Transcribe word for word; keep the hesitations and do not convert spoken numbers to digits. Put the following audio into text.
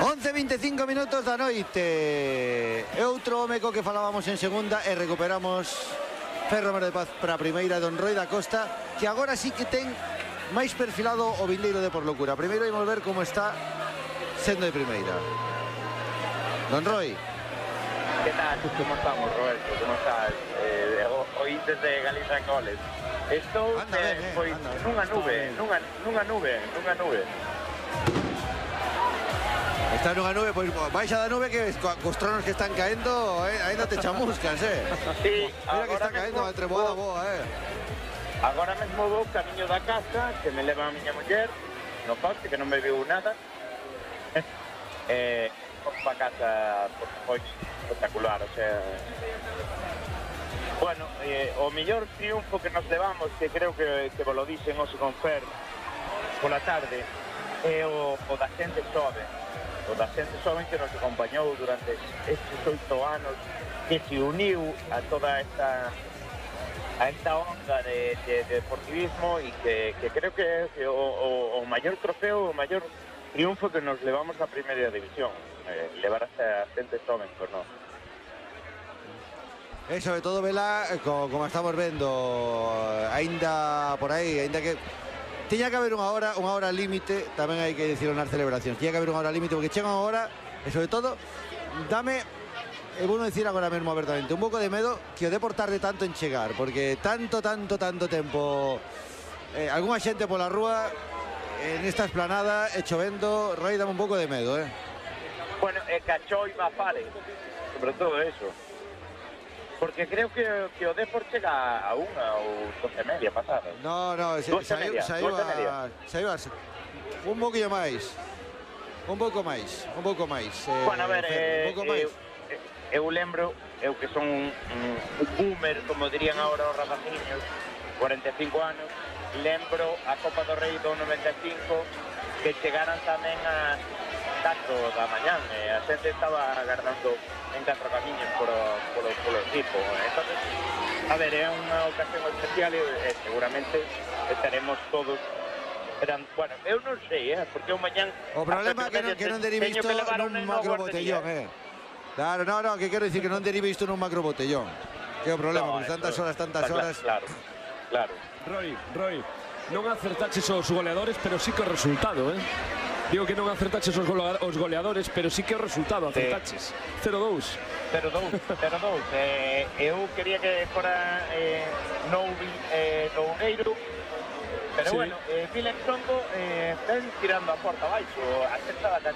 once e veinticinco minutos da noite. E outro home co que falábamos en segunda e recuperamos Ferro Romero de Paz para a primeira, Don Roi da Costa, que agora sí que ten máis perfilado o vindeiro de Por Locura. Primeiro imos ver como está sendo de primeira. Don Roi. Que tal? Como estamos, Roberto? Como estás? Eh, oíntes de Galiza en goles. Estou anda eh, ben, eh, pois, anda, nunha nube, nunha, nunha nube, nunha nube. Está nunha nube, pois baixa da nube que cos tronos que están caendo, eh, ainda te chamuscas, eh. Sí, mira que está caendo entre boa boa, eh. Agora mesmo vou camiño da casa, que me leva a miña muller, no coche, que non me viu nada. eh, vou para casa, por foi espectacular, o sea... Bueno, eh, o mellor triunfo que nos levamos, que creo que, que vos lo dixen hoxe con Fer pola tarde, é o, o da xente xoven. O da xente xoven que nos acompañou durante estes oito anos, que se uniu a toda esta a esta onda de, de, de deportivismo e que, que creo que é o, o, o maior trofeo, o maior triunfo que nos levamos a primeira división, eh, levar a xente xoven, por non. E sobre todo, vela, como, como estamos vendo, aínda por aí, aínda que tiña que haber unha hora, unha hora límite, tamén hai que dicirlo nas celebracións, tiña que haber unha hora límite, porque chega unha hora, e sobre todo, dame, e vou non dicir agora mesmo abertamente, un pouco de medo que o Depor tarde tanto en chegar, porque tanto, tanto, tanto tempo, eh, algunha xente pola rúa, en esta esplanada, e chovendo, Roi, dame un pouco de medo, eh. Bueno, e cachou e Mafare, sobre todo eso. Porque creo que, que o Depor chega a unha ou doce e media pasada. No, no, se, saiu, saiu, a, saiu a, un pouquinho máis. Un pouco máis, un pouco máis. Eh, bueno, a ver, eh, un pouco máis. Eu, eu lembro, eu que son un, un boomer, como dirían agora os rapaciños, cuarenta e cinco anos, lembro a Copa do Rei do noventa e cinco, que chegaran tamén a catro da mañán, e a xente estaba agardando en catro camiños polo, polo, polo equipo. Entonces, a ver, é unha ocasión especial e, e seguramente estaremos todos. Eran, bueno, eu non sei, eh, porque o mañán... O problema é que non, que non derive isto nun macro botellón, eh. Claro, no, no, que quero dicir que non derive isto nun macro botellón. Que é o problema, no, porque tantas horas, tantas horas... Claro, claro. Roy, Roy, non acertaches os goleadores, pero sí que o resultado, eh. Digo que non acertaches os goleadores, pero sí que o resultado acertaches. cero dous. cero dous, cero dous. Eh, eu quería que fora eh, Noubi, eh, Nougueiro, pero sí. Bueno, eh, Vilen Songo eh, están tirando a porta abaixo, a sexta da